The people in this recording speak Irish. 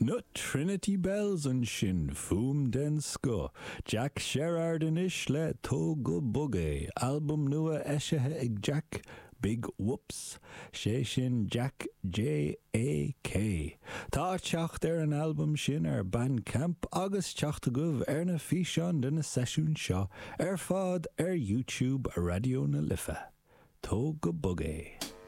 Na Trinity Belles ansin, fuaim den scoth. Jack Sherrard anois le Tóg go Bog É, albam nua eisithe ag Jack, Big Whoops, sé sin Jack J.A.K. Tá teacht ar an albam sin ar Bandcamp agus teacht agaibh ar na físeáin de na seisiúin seo ar fad ar YouTube Raidió na Life. Tóg go Bog É.